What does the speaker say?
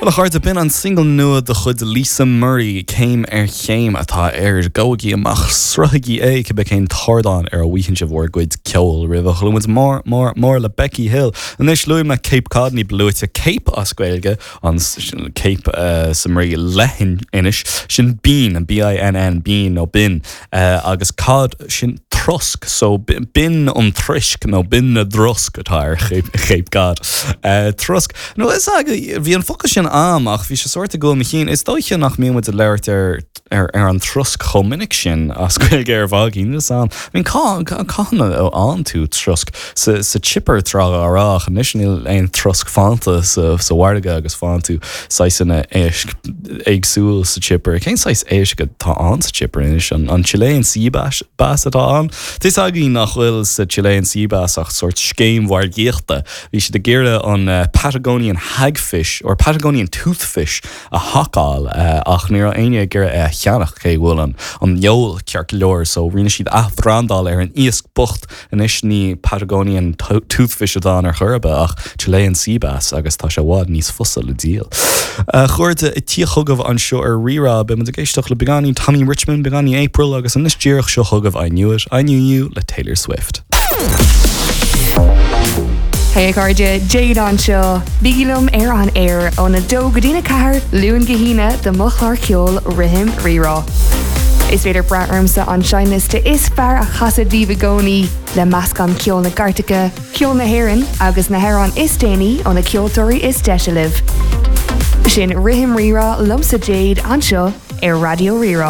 Bhuel a chairde, b'in an single nua de chuid Lisa Murray, Céim ar Chéim atá air. Gabhaigí amach, sruthaigí é, cibé cén t-ardán ar a bhfaigheann sibh bhur gcuid ceoil roimh a chuala muid mór, mór, mór le Becky Hill. Anois, luaigh mé Cape Cod, ní ba luaite Cape as Gaeilge, an Cape sa mbrí leithinis, sin binn, B-I-N-N, binn nó binn. Agus cod, sin trosc, so binn an troisc nó binn na dtrosc atá ar Cape Cod. Trosc. Nó is ea, bhí an focal sin a'm ach bhí sé sórt i gcúl mo chinn. Is dóiche nach mbíonn muid ag labhairt ar ar an trosc chomh minic sin as Gaeilge ar bhealach. Níl 'fhios a'm. I mean, cá cathain a fhaigheann tú trosc? Sa sa chipper tráth dá raibh ach anois níl aon trosc fanta sa sa mhargadh agus faigheann tú saghsanna éisc éagsúil sa chipper. Cén saghas éisc atá ann sa chipper anois? An an Chilean sea bass bass atá ann? Tá 'fhios againn nach bhfuil sa Chilean sea bass ach sórt scéim mhargaíochta. Bhí siad ag iarraidh an Patagonian hagfish or Patagonian toothfish a hacáil ach ní raibh éinne ag iarraidh é a cheannach cé go bhfuil an an fheoil ceart go leor so rinne siad athbhrandáil ar an iasc bocht Anois ní Patagonian toothfish atá ann ar chor ar bith ach Chilean sea bass agus tá sé i bhfad níos fusa le díol. A chairde, ag tíocht chugaibh anseo ar Rí-Rá, beidh muid ag éisteacht le beagáinín Tommy Richman, beagáinín April agus anois díreach seo chugaibh I Knew It, I Knew You le Taylor Swift. Hey a chairde, Jade anseo. Bígí liom ar an aer óna 2 go dtína 4, Luan go hAoine do mo chlár ceoil Rithim Rí-Rá. Is féidir brath ormsa an seinnliosta is fearr a chasadh daoibh i gcónaí, le meascán ceol na gcairteacha, ceol na hÉireann agus na hamhráin is déanaí ó na ceoltóirí is deise libh. Sin Rithim Rí-Rá liomsa Jade anseo ar Raidió Rí-Rá.